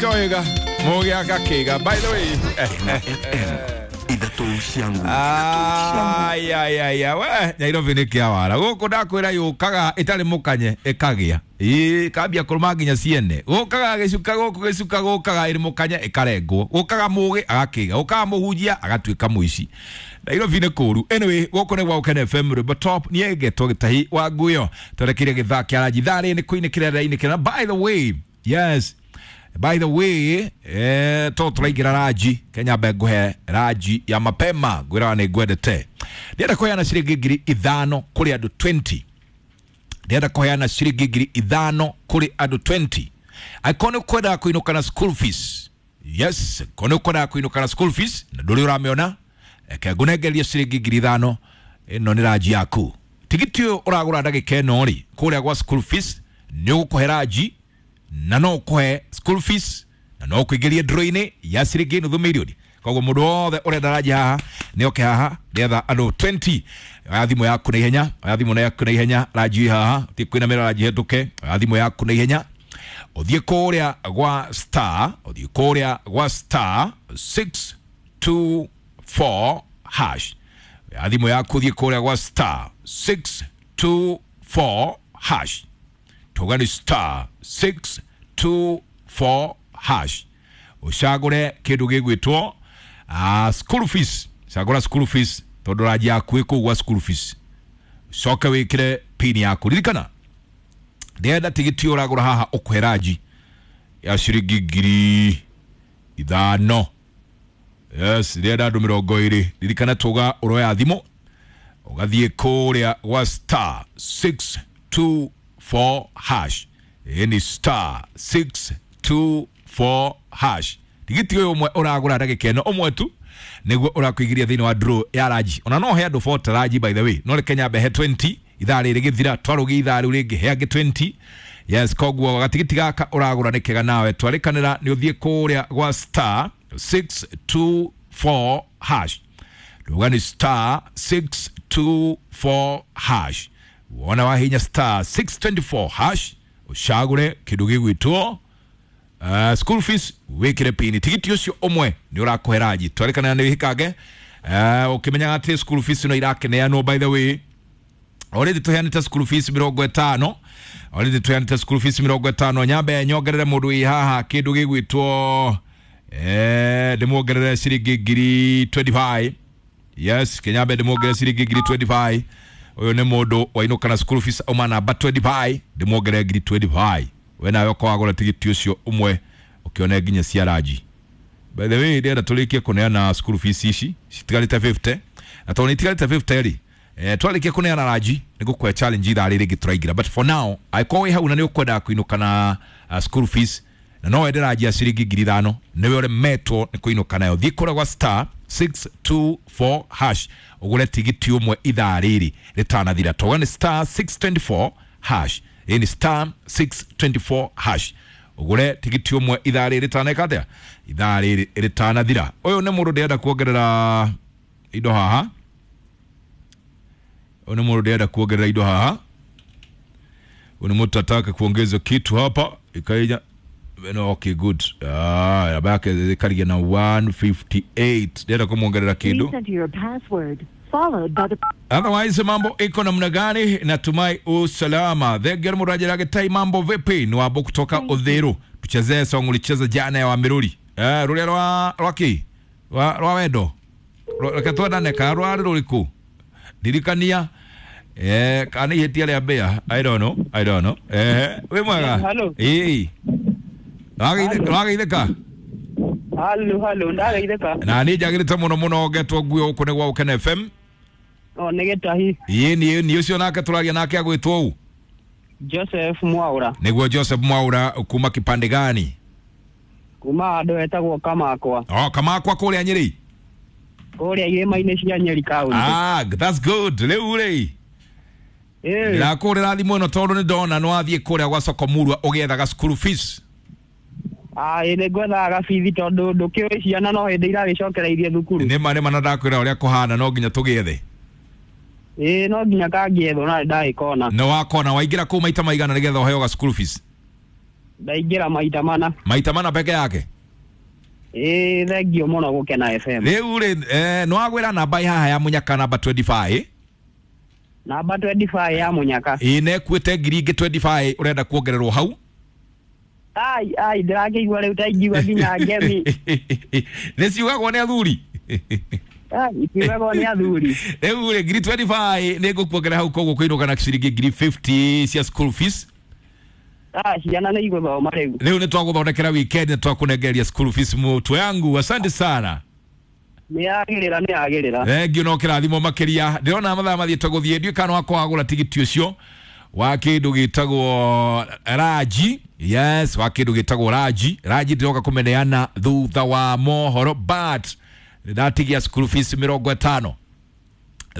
Koiga mugi akakiga. By the way, ai ai ai we Nairobi nĩ kĩawara gũkũ ndakwĩra yũkaga ĩtarĩ mũkanye ĩkagĩa ĩĩ kambia kũrũma nginya ciene gũkaga gĩcuka gũkũ gĩcuka gũkaga ĩrĩ mũkanye ĩkarengwo gũkaga mũgĩ agakĩga gũkaga mũhunjia agatuĩka mũici. Nairobi nĩ kũru. Anyway, gũkũ nĩ gwa Gũkena FM rwĩmbo top niĩ ngetwo Gĩtahi wa Nguyo twerekeire gĩthaa kĩa ranji thaa rĩrĩ nĩ kũinĩkĩra rĩrainĩkĩra. By the way, yes, by the way, to tũraingĩra ranji Kenya mbe nguhe ranji ya mapema ngwĩraga nĩ ngwendete. Ndĩrenda kũheana ciringi 5,000 kũrĩ andũ 20. Ndĩrenda kũheana ciringi 5,000 kũrĩ andũ 20. Angĩkorwo nĩ ũkwendaga kũinũka na school fees, yes, angĩkorwo nĩ ũkwendaga kũinũka na school fees na ndũrĩ ũramĩona, reke ngũnengerie ciringi 5,000. Ĩno nĩ ranji yaku. Tigiti ũyũ ũragũra ndagĩka ĩno rĩ kũrĩa gwa school fees nĩ ũgũkũhe ranji na no ũkũhe school fees na no ũkũingĩrie draw-inĩ ya ciringi nuthu mirioni. Koguo mũndũ wothe ũrenda ranji haha nĩ oke haha nĩgetha andũ 20. Oya thimũ yaku na ihenya, oya thimũ yaku na ihenya, ranji haha ti kwĩnamĩra ranji hetũke. Oya thimũ yaku na ihenya ũthiĩ kũrĩa gwa star, ũthiĩ kũrĩa gwa star 624 hash. Oya thimũ yaku ũthiĩ kũrĩa gwa star 624 hash. Tuga ni star 624 hash ucagure kindu gigwitwo school fees. Cagura school fees tondu ranji yaku ĩ kũu gwa school fees. Coke wikire pin yaku. Ririkana ndĩrenda tigiti ũragũra haha ũkũhe ranji ya ciringi 5,000. Yes, ndĩrenda andũ 20. Ririkana tuga ũroya thimũ ũgathiĩ kũrĩa gwa star 624 hash. Ni star 624 hash. Tigiti ũyũ ũmwe ũragũra ndagĩka ĩno ũmwe tu nĩguo ũrakũingĩria thĩinĩ wa draw ya ranji. Ona no he andũ 40 ranji by the way, no reke nyambe he 20 ithaa rĩrĩ gĩthira twarũgie ithaa rĩu rĩngĩ he angĩ 20. Yes, koguo gatigiti gaka ũragũra nĩ kega nawe twarĩkanĩra nĩ ũthiĩ kũrĩa gwa star 624 hash. Nduga ni star 624 hash. Wona wahinya star 624 hash ucagure kindu gigwitwo school fees wikire pini. Tigiti ucio umwe ni urakũhe ranji. Twarĩkanĩra nĩ wĩhikange ũkĩmenyaga atĩ school fees no irakeneanwo. By the way, already tũheanĩte school fees 50, already tũheanĩte school fees 50. Nyambe nyongerere mũndũ wĩ haha kĩndũ gĩgwĩtwo ndĩmuongerere ciringi 25,000. Yes, kenyambe ndĩmuongerere ciringi 25,000. Ũyũ nĩ mũndũ wainũka na school fees auma namba 25, ndĩmuongerere 25,000. We nawe ũkorwo wagũra tigiti ũcio ũmwe ũkĩone nginya cia ranji. By the way, ndĩrenda tũrĩkie kũneana school fees ici citigarĩte 50, na tondũ nĩ itigarĩte 50 rĩ, twarĩkia kũneana ranji nĩ ngũkũhe challenge ithaa rĩrĩ rĩngĩ tũraingĩra. But for now, angĩkorwo wĩ hau na nĩ ũkwendaga kũinũka na school fees na no wende ranji ya ciringi 5,000, nĩwe ũremetwo nĩ kũinũka nayo. Thiĩ kũrĩa gwa star 624 hash ũgũre tigiti ũmwe ithaa rĩrĩ rĩtanathira. Toga nĩ star 624 hash. Ĩĩ ni star 624 hash ũgũre tigiti ũmwe ithaa rĩrĩ rĩtaneka atĩa, ithaa rĩrĩ rĩtanathira. Ũyũ nĩ mũndũ ndĩrenda kuongerera indo haha. Ũyũ nĩ mũndũ ndĩrenda kuongerera indo haha. Ũyũ nĩ mũndũ ataka kuongeza kitu hapa ikaija. No, okay, good. Namba yake ĩkarigia na 158. Ndĩrenda kũmuongerera kĩndũ. Please enter your password followed by the Otherwise mambo iko namna gani? Natumai usalama. Thegera murajira getai mambo vipi? Ni wabo kutoka Uthiru. Tuchezee song ulicheza jana ya Wamiruri. Ruria rwa rwaki? Rwa wendo. Reke twendane ka rwa ruriku. Ndirikania kana ihĩtia rĩa mbĩa. I don't know. I don't know. Wĩ mwega? Hello. Ĩĩ. Wageithĩka? Halo, halo, ndageithĩka. Na niĩ njagĩrĩte mũno mũno ngetwo nguo gũkũ nĩ gwa Gũkena FM. O nĩ Gĩtahi. Ĩĩ niĩ ũcio nake tũragia nake agwĩtwo ũ? Joseph Mwaura. Nĩguo Joseph Mwaura kuma kipande gani? Kuma handũ hetagwo Kamakwa. Oh, Kamakwa kũrĩa Nyĩrĩ. Kũrĩa irĩma-inĩ cia Nyeri County. Ah, that's good. Rĩu rĩ, Ĩĩ. ndĩrakũrĩra thimũ ĩno tondũ nĩ ndona nĩ wathiĩ kũrĩa gwa soko Murwa ũgĩethaga school fees. Ah, ĩĩ nĩ ngwethaga gabithi tondũ ndũkĩũĩ ciana no hĩndĩ iragĩcokereirie thukuru. Nĩma nĩma na ndakwĩra ũrĩa kũhana no nginya tũgĩethe. Ĩĩ no nginya kangĩethwo na ndagĩkona. Nĩ wakona waingĩra kũu maita maigana nĩgetha ũheo ga school fees? Ndaingĩra maita mana. Maita mana peke yake. Ĩĩ thengio mũno Gũkena FM. Rĩu rĩ nĩwagwĩra namba haha ya Munyaka namba 25. Namba 25 ya Munyaka. Ĩĩ nekuĩte ngiri ingĩ 25 ũrenda kuongererwo hau. Ai ai ndĩrakĩigua rĩu ta ingiuga nginya ngemi. Nĩ ciugagwo nĩ athuri. Ai ciugagwo nĩ athuri. Rĩu rĩ ngiri 25 nĩ ngũkuongerera hau koguo kũinũka na ciringi ngiri 50 cia school fees. Ah ciana nĩ igũthoma rĩu. Rĩu nĩ twagũthondekera weekend nĩ twakũnengereria school fees mũtwe yangu. Asante sana. Nĩ yagĩrĩra nĩ yagĩrĩra. Thengio no kĩrathimo makĩria. Ndĩrona mathaa mathiĩte gũthiĩ ndiũĩ kana wakwa wagũra tigiti ũcio wa kĩndũ gĩtagwo Raji. Yes, wa kĩndũ gĩtagwo Raji. Raji ndĩroka kũmeneana thutha wa mohoro but ndatigia school fees 50.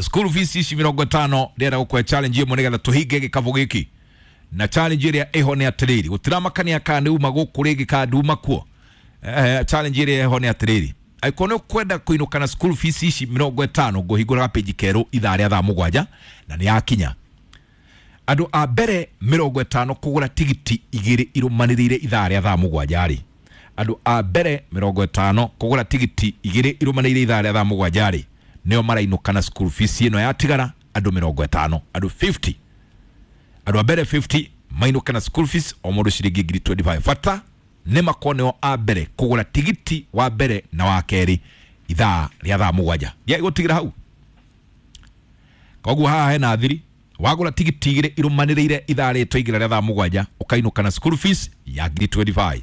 School fees ici 50 ndĩrenda gũkũhe challenge ĩmwe nĩgetha tũhinge gĩkabũ gĩkĩ. Na challenge ĩrĩa ĩho nĩ atĩrĩrĩ, gũtiramakania kana nĩ uma gũkũ rĩngĩ kana nduma kuo. Challenge ĩrĩa ĩho nĩ atĩrĩrĩ, angĩkorwo nĩ ũkwenda kũinũka na school fees ici 50 ngũhingũra gapĩnji kerũ ithaa rĩa thaa 7 na nĩ yakinya. Andũ a mbere 50 kũgũra tigiti igĩrĩ irũmanĩrĩire ithaa rĩa thaa 7 rĩ. Andũ a mbere 50 kũgũra tigiti igĩrĩ irũmanĩrĩire ithaa rĩa thaa 7 rĩ nĩo marainũka na school fees ĩno yatigara andũ 50, andũ 50. Andũ a mbere 50 mainũka na school fees o mũndũ ciringi ngiri 25. Bata nĩ makorwo nĩo a mbere kũgũra tigiti wa mbere na wa kerĩ ithaa rĩa thaa 7. Ndiagũtigĩra hau. Koguo haha hena thiri wagũra tigiti igĩrĩ irũmanĩrĩire ithaa rĩrĩ twaingĩra rĩa thaa 7 ũkainũka na school fees ya ngiri 25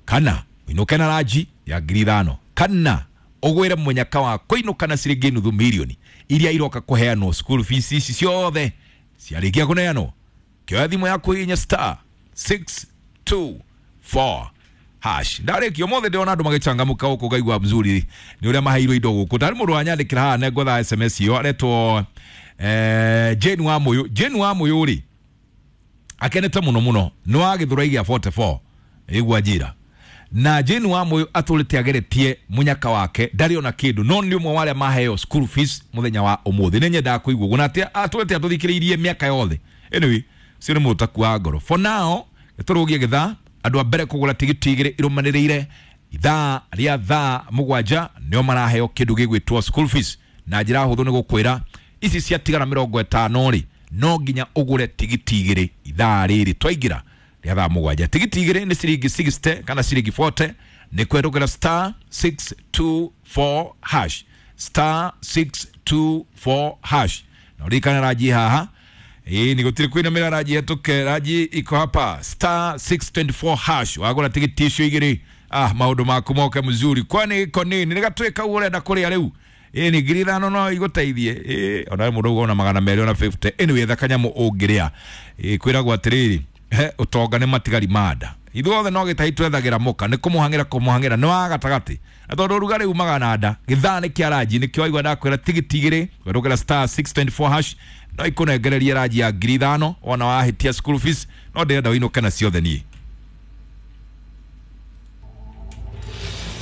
kana ũinũke na ranji ya ngiri 5 kana ũgwĩre mũnyaka wa kũinũka na ciringi nuthu mirioni iria iroka kũheanwo school fees ici ciothe ciarĩkia kũneanwo. Kĩoya thimũ yaku hihinya star 624 hash. Ndarĩkia ũmũthĩ ndĩrona andũ magĩcangamũka gũkũ ngaigua mzuri nĩ ũrĩa maheirwo indo gũkũ. Tarĩ mũndũ wanyandĩkĩra haha nĩngwetha SMS ĩyo aretwo Jane wa Mũyũ. Jane wa Mũyũ rĩ akenete mũno mũno nĩ wa Gĩthũrai gĩa 44 ĩgua njĩra. Na Jane wa Mũyũ atũrĩte ageretie mũnyaka wake ndarĩ ona kĩndũ no nĩ ũmwe wa arĩa maheo school fees mũthenya wa ũmũthĩ. Nĩ nyendaga kũigua ũguo na atĩ atũrĩte atũthikĩrĩirie mĩaka yothe. Anyway, ũcio nĩ mũtaku wa ngoro. For now tũrũgie gĩthaa andũ a mbere kũgũra tigiti igĩrĩ irũmanĩrĩire ithaa rĩa thaa 7 nĩo maraheo kĩndũ gĩgwĩtwo school fees. Na njĩra hũthũ nĩ gũkwĩra ici ciatigara 50 rĩ no nginya ũgũre tigiti igĩrĩ ithaa rĩrĩ twaingĩra rĩa thaa 7. Tigiti igĩrĩ nĩ ciringi 60 kana ciringi 40 nĩ kwerũgĩra star 624 hash star 624 hash. Na ũririkane ranji haha ĩĩ nĩ gũtirĩ kwĩnamĩra ranji hetũke ranji iko hapa star 624 hash wagũra tigiti icio igĩrĩ maũndũ maku moke mzuri kwani iko nini nĩ gatuĩka ũguo ũrenda kũrĩa rĩu. Ĩĩ nĩ ngiri 5 no igũteithie. Ĩĩ ona mũndũ ũguo ona 250. Anyway etha kanyamũ ũngĩrĩa. Ĩĩ kwĩragwo atĩrĩrĩ ũtonga nĩ matigari ma nda. Ithuothe no gĩtahi twethagĩra mũka nĩ kũmũhang'ĩra kũmũhang'ĩra nĩ wa gatagatĩ. Na tondũ ũrugarĩ umaga na nda gĩthaa nĩ kĩa ranji nĩkĩo waigua ndakwĩra tigiti igĩrĩ werũgĩra star 624 hash no ikũnengererie ranji ya ngiri 5 wona wahĩtia school fees no ndĩrenda ũinũke na ciothe niĩ.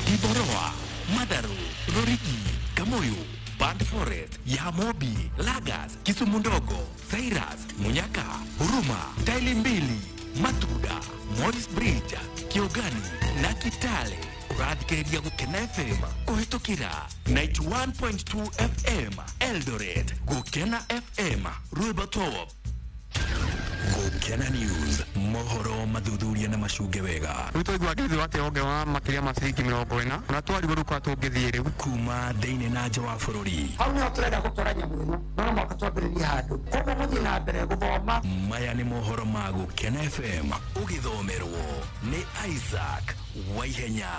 Kiboroa, Madaru, Rorigi, Kamoyo, Band Forest, Yamobi, Lagas, Kisumu Ndogo, Cyrus, Munyaka, Huruma, Taili Mbili, Matuda, Morris Bridge, Kiogani na Kitale. Ũrathikĩrĩria Gũkena FM kũhĩtũkĩra 91.2 FM Eldoret, Gũkena FM Rwĩmbo Top. Gũkena News, mohoro mathuthuria na macunge wega. Rĩu twaigua ngĩthĩ atĩ ongerera makĩria ma ciringi 40 na twarigwo rĩu kwa tũngĩthiĩ rĩu kuma thĩinĩ na nja wa bũrũri. Hau nĩho tũrenda gũtwara nyamũ ĩno no mũhaka twambĩrĩrie handũ koguo mũthiĩ na mbere gũthoma. Maya nĩ mohoro ma Gũkena FM ũgĩthomerwo nĩ Isaac Waihenya.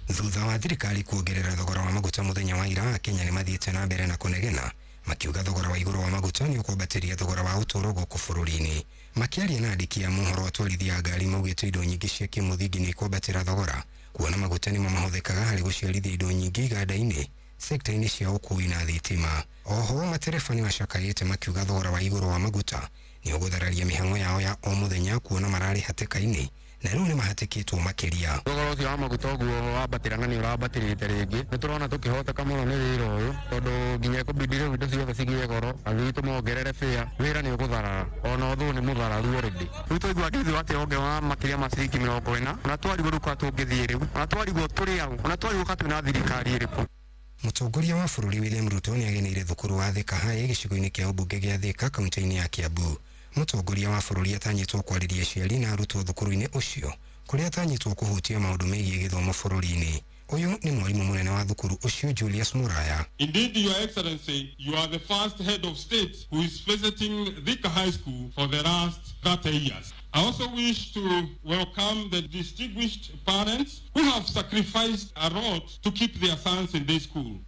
Thutha wa thirikari kuongerera thogora wa maguta mũthenya wa ira, Kenya nĩ mathiĩte na mbere na kũnegena makiuga thogora wa igũrũ wa maguta nĩ ũkwambatĩria thogora wa ũtũũro gũkũ bũrũri-inĩ. Makĩaria na andĩki a mohoro atwarithia a ngari maugĩte indo nyingĩ cia kĩmũthingi nĩ ikwambatĩra thogora kuona maguta nĩmo mahũthĩkaga harĩ gũciarithia indo nyingĩ iganda-inĩ, sekta-inĩ cia ũkuui na thitima. Oho matereba nĩ macakayĩte makiuga thogora wa igũrũ wa maguta nĩ ũgũthararia mĩhang'o yao ya o mũthenya kuona mararĩ hatĩka-inĩ na rĩu nĩ mahatĩkĩtwo makĩria. Thogora ũcio wa maguta ũguo wambatĩra na nĩ ũrambatĩrĩte rĩngĩ, nĩ tũrona tũkĩhoteka mũno nĩ wĩra ũyũ tondũ nginya ĩkũbidi rĩu indo ciothe cigĩe goro, athii tũmongerere bĩa, wĩra nĩ ũgũtharara ona ũthũ nĩ mũthararu already. Rĩu twaigua ndithu atĩ ongerera makĩria ma ciringi 40, ona twarigwo rĩu kwa tũngĩthiĩ rĩu, ona twarigwo tũrĩ au, ona twarigwo ka twĩna thirikari ĩrĩkũ. Mũtongoria wa bũrũri William Ruto nĩageneire thukuru wa Thika High gĩcigo-inĩ kĩa ũmbunge gĩa Thika kaunti-inĩ ya Kiambu. Mũtongoria wa bũrũri atanyĩtwo kwarĩria aciari na arutwo thukuru-inĩ ũcio kũrĩa atanyĩtwo kũhutia maũndũ megiĩ gĩthomo bũrũri-inĩ. Ũyũ nĩ mwarimũ mũnene wa thukuru ũcio Julius Muraya. Indeed, Your Excellency, you are the first head of state who is visiting Thika High School for the last 30 years. I also wish to welcome the distinguished parents who have sacrificed a lot to keep their sons in this school.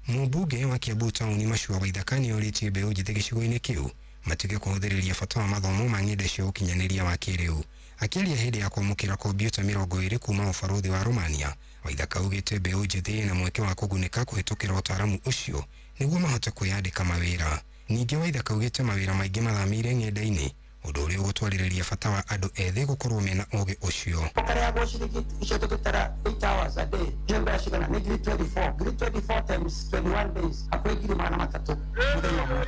Mũmbunge wa Kiambu taũni Machua Waithaka nĩorĩtie mbeũ njĩthĩ gĩcigo-inĩ kĩu matige kũhũthĩrĩria bata wa mathomo ma ng'enda cia ũkinyanĩria wa kĩrĩu. Akĩaria hĩndĩ ya kwamũkĩra kompiuta 20 kuma ũbarũthi wa Romania, Waithaka augĩte mbeũ njĩthĩ na mweke wa kũgunĩka kũhĩtũkĩra ũtaaramu ũcio nĩguo mahote kwĩyandĩka mawĩra. Ningĩ Waithaka augĩte mawĩra maingĩ mathamĩire ng'enda-inĩ, ũndũ ũrĩa ũgũtwarĩrĩria bata wa andũ ethĩ gũkorwo mena ũgĩ ũcio. Ũkarĩhagwo ciringi icio tũgĩtara 8 hours a day, nĩ mbeca cigana? Nĩ ngiri 24, ngiri 24 times 21 days, hakuhĩ ngiri 300 mũthenya ũmwe.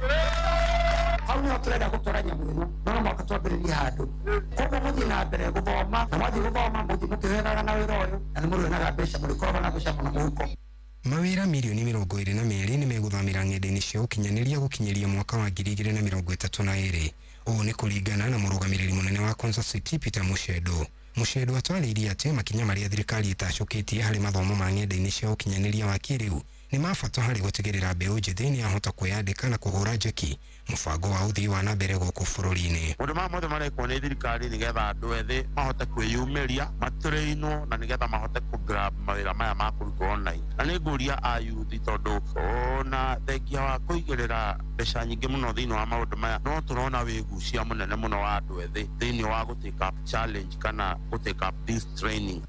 Hau nĩho tũrenda gũtwara nyamũ ĩno, no mũhaka twambĩrĩrie handũ. Koguo mũthiĩ na mbere gũthoma, na mwathiĩ gũthoma mũthiĩ mũkĩhoeraga na wĩra ũyũ, na nĩ mũrĩonaga mbeca, mũrĩkoragwo na mbeca mũno mũhuko. Mawĩra mirioni 22 nĩ megũthamĩra ng'enda-inĩ cia ũkinyanĩria gũkinyĩria mwaka wa 2032. Ũũ nĩ kũringana na mũrũgamĩrĩri mũnene wa Konza City Peter Mushendo. Mushendo atwarĩirie atĩ makinya marĩa thirikari ĩtacũkĩtie harĩ mathomo ma ng'enda-inĩ cia ũkinyanĩria wa kĩrĩu nĩ ma bata harĩ gũtigĩrĩra mbeũ njĩthĩ nĩ yahota kwĩyandĩka na kũhũra njeki mũbango wa ũthii wa na mbere gũkũ bũrũri-inĩ. Maũndũ maya mothe marekwo nĩ thirikari nĩgetha andũ ethĩ mahote kwĩyumĩria, matũrĩinwo na nĩgetha mahote kũ grab mawĩra maya ma kũrutwo online. Na nĩ ngũria a youth tondũ ona thengia wa kũigĩrĩra mbeca nyingĩ mũno thĩinĩ wa maũndũ maya, no tũrona wĩgucia mũnene mũno wa andũ ethĩ thĩinĩ wa gũ take up challenge kana gũ take up this training.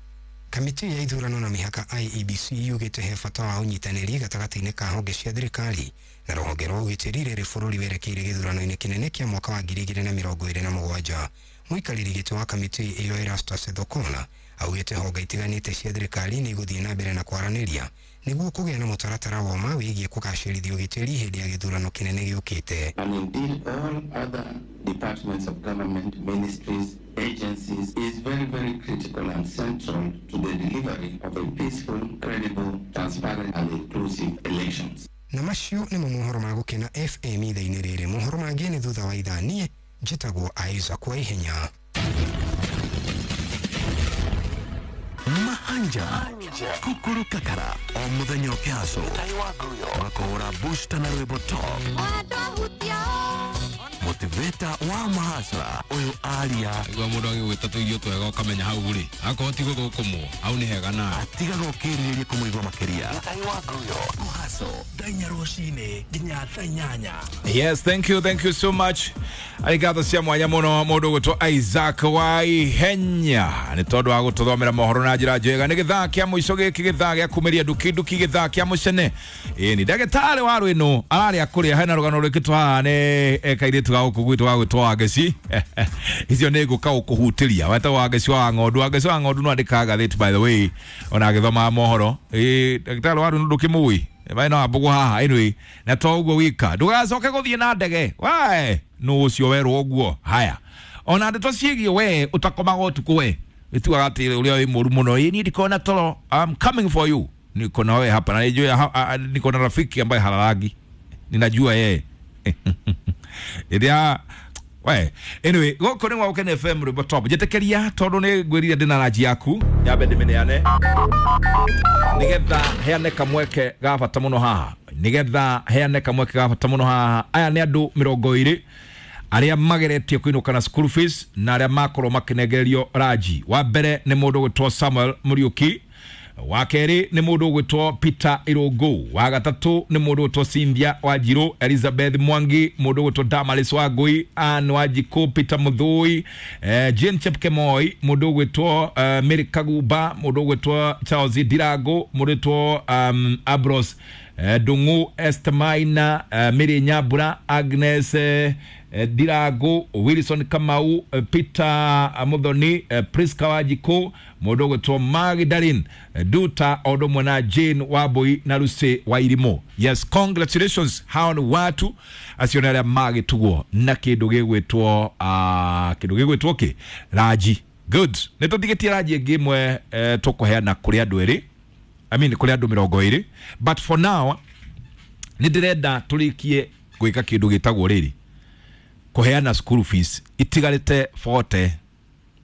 Kamĩtĩ ya ithurano na mĩhaka IEBC yugĩte he bata wa ũnyitanĩri gatagatĩ-inĩ ka honge cia thirikari na rũhonge rwa ũgitĩri rĩrĩ bũrũri werekeire gĩthurano-inĩ kĩnene kĩa mwaka wa 2027. Mũikarĩri gĩtĩ wa kamĩtĩ ĩyo Erastus Thokona augĩte honge itiganĩte cia thirikari nĩ igũthiĩ na mbere na kwaranĩria nĩguo kũgĩa na mũtaratara wa ma wĩgiĩ kũgacĩrithia ũgitĩri hĩndĩ ya gĩthurano kĩnene gĩũkĩte. And indeed all other departments of government, ministries, agencies is very, very critical and central to the delivery of a peaceful, credible, transparent and inclusive elections. Na macio nĩmo mohoro ma Gũkena FM ithaa-inĩ rĩrĩ. Mohoro mangĩ nĩ thutha wa ithaa. Niĩ njĩtagwo Isaac Waihenya. Mahanja kukuru kakara o muthenya ũkĩhaco makũhũra booster na rwĩmbo top motivator wa mahasra ũyũ aria igua mũndũ agĩgwĩta tũirio twega ũkamenya hau rĩ akorwo ti gũthũkũmwo hau nĩ hega nawe atigaga ũkĩrirĩria kũmũigua makĩria mũhaco thaa inya rũcinĩ nginya thaa inyanya. Yes, thank you so much. Arigatho cia mwanya mũno mũndũ ũgwĩtwo Isaac Waihenya nĩ tondũ wa gũtũthomera mohoro na njĩra njega. Nĩ gĩthaa kĩa mũico gĩkĩ, gĩthaa gĩa kumĩria nduki nduki, gĩthaa kĩa mũcene. Ĩĩ ni ndagĩtarĩ wa rwĩnũ ararĩa kũrĩa hena rũgano rwĩkĩtwo haha nĩ kairĩtu ga gũkũ gwitũ ga gwĩtwo Wangeci. Icio nĩ ngũka gũkũhutĩria wetagwo Wangeci wa ng'ondu. Wangeci wa ng'ondu no andĩkaga ngathĩti by the way ona agĩthomaga mohoro. Ĩĩ ndagĩtarĩ wa rwĩnũ ndũkĩmũĩ bai no ambugu haha anyway na to uguo wika ndugacoke guthie na ndege wae no ucio werwo uguo haya ona ndeto ciĩgiĩ we utakomaga utuku we ituaga ati uria wi mũru mũno ĩ niĩ ndikona toro, I'm coming for you, niko na wewe hapa na nijue niko na rafiki ambaye halalagi ninajua yeye ĩrĩa we anyway gũkũ nĩ gwa Gũkena FM rwĩmbo top njĩtĩkĩria tondũ nĩ ngwĩrire ndĩna ranji yaku nyambe ndĩmĩneane nigetha heane kamweke ga bata mũno haha, nigetha heane kamweke ga bata mũno haha. Aya nĩ andũ 20 arĩa mageretie kũinũka na school fees na arĩa makorwo makĩnengererio ranji. Wa mbere nĩ mũndũ ũgwĩtwo Samuel Muriuki, wa kerĩ nĩ mũndũ ũgwĩtwo Peter Irũngũ, wa gatatũ nĩ mũndũ ũgwĩtwo Cynthia Wanjirũ, Elizabeth Mwangi, mũndũ ũgwĩtwo Damaris Wangui, Ann Wanjikũ, Peter Mũthũi, Jane Chepkemoi, mũndũ ũgwĩtwo Mary Kagumba, mũndũ ũgwĩtwo Charles Ndirango, mũndũ ũgwĩtwo Ambrose Ndung'u Esther Maina, Mary Nyambura, Agnes Ndirangu, Wilson Kamau, Peter Muthoni, Priska Wanjiku, mũndũ ũgwĩtwo Magdalene Duta o ũndũ ũmwe na Jane Wambui na Lucy Wairimu. Yes, congratulations, hao nĩ watu acio nĩ arĩa magĩtugwo na kĩndũ gĩgwĩtwo kĩndũ gĩgwĩtwo kĩ ranji. Good, nĩ tũtigĩtie ranji ĩngĩ ĩmwe tũkũheana kũrĩ andũ erĩ, I mean kũrĩ andũ 20, but for now nĩ ndĩrenda tũrĩkie gwĩka kĩndũ gĩtagwo rĩrĩ kũheana school fees itigarĩte 40.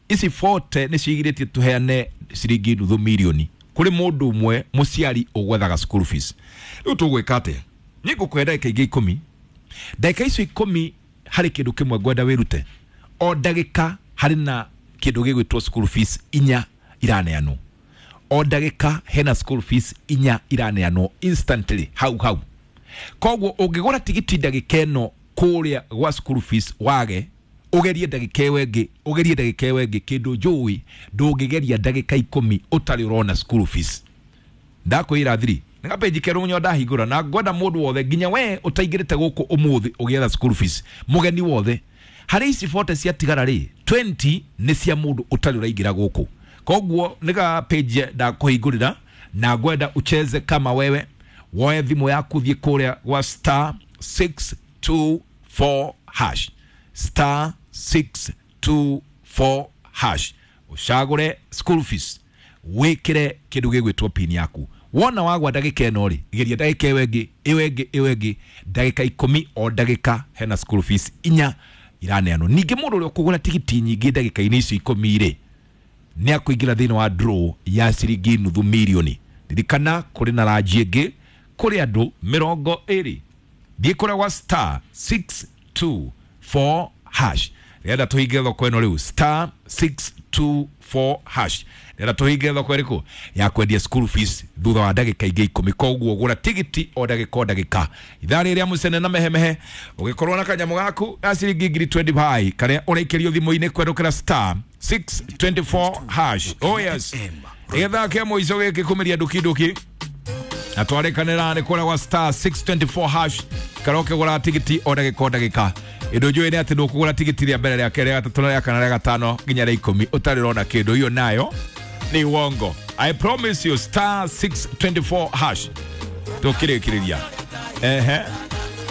Ici 40 nĩ cigirĩtie tũheane ciringi nuthu mirioni kũrĩ mũndũ ũmwe mũciari ũgwethaga school fees. Rĩu tũgwĩka atĩa? Niĩ ngũkũhe ndagĩka ingĩ 10. Ndagĩka icio 10 harĩ kĩndũ kĩmwe ngwenda wĩrute. O ndagĩka harĩ na kĩndũ gĩgwĩtwo school fees 4 iraneanwo. O ndagĩka hena school fees 4 iraneanwo instantly hau hau. Koguo ũngĩgũra tigiti ndagĩka ĩno kũrĩa gwa school fees wage, ũgerie ndagĩka ĩyo ĩngĩ, ũgerie ndagĩka ĩyo ĩngĩ, kĩndũ njũĩ ndũngĩgeria ndagĩka 10 ũtarĩ ũrona school fees. Ndakwĩra thiri nĩ gapeji kerũ nyo ndahingũra na ngwenda mũndũ wothe nginya we ũtaingĩrĩte gũkũ ũmũthĩ ũgĩetha school fees, mũgeni wothe harĩ ici 40 ciatigara rĩ, 20 nĩ cia mũndũ ũtarĩ ũraingĩra gũkũ. Koguo nĩ ga page ndakũhingũrĩra na ngwenda ucheze kama wewe, woe thimũ yaku thiĩ kũrĩa gwa star 624 hash, star 624 hash, ũcagũre school fees, wĩkĩre kĩndũ gĩgwĩtwo pin yaku. Wona wagwa ndagĩka ĩno rĩ, geria ndagĩka ĩyo ĩngĩ, ĩyo ĩngĩ, ĩyo ĩngĩ, ndagĩka 10 o ndagĩka hena school fees 4 iraneanwo. Ningĩ mũndũ ũrĩa ũkũgũra tigiti nyingĩ ndagĩka-inĩ icio 10 rĩ, nĩ akũingĩra thĩinĩ wa draw ya ciringi nuthu mirioni. Ririkana kũrĩ na ranji ĩngĩ kũrĩ andũ 20. Thiĩ kũrĩa gwa star 624 hash. Rĩenda tũhinge thoko ĩno rĩu, star 624 hash. Rĩenda tũhinge thoko ĩrĩkũ ya kwendia school fees thutha wa ndagĩka ingĩ 10. Koguo gũra tigiti o ndagĩka o ndagĩka. Ithaa rĩrĩa mũcene na mehemehe ũgĩkorwo na kanyamũ gaku ga ciringi 20,000 karĩa ũraikĩrio thimũ-inĩ kwerũkĩra star 624 hash. Oh yes, gĩthaa kĩa mũico gĩkĩ kũmĩria nduki nduki na twarĩkanĩra nĩ kũrĩa gwa star 624 hash karoke gũra tigiti o ndagĩka o ndagĩka. Ĩndũ njũĩ nĩ atĩ ndũkũgũra tigiti rĩa mbere, rĩa kerĩ, rĩa gatatũ, rĩa kana, rĩa gatano nginya rĩa 10 ũtarĩ ũrona kĩndũ. Iyo nayo nĩ wongo. I promise you, star 624 hash. Tũkĩrĩkĩrĩria ehe.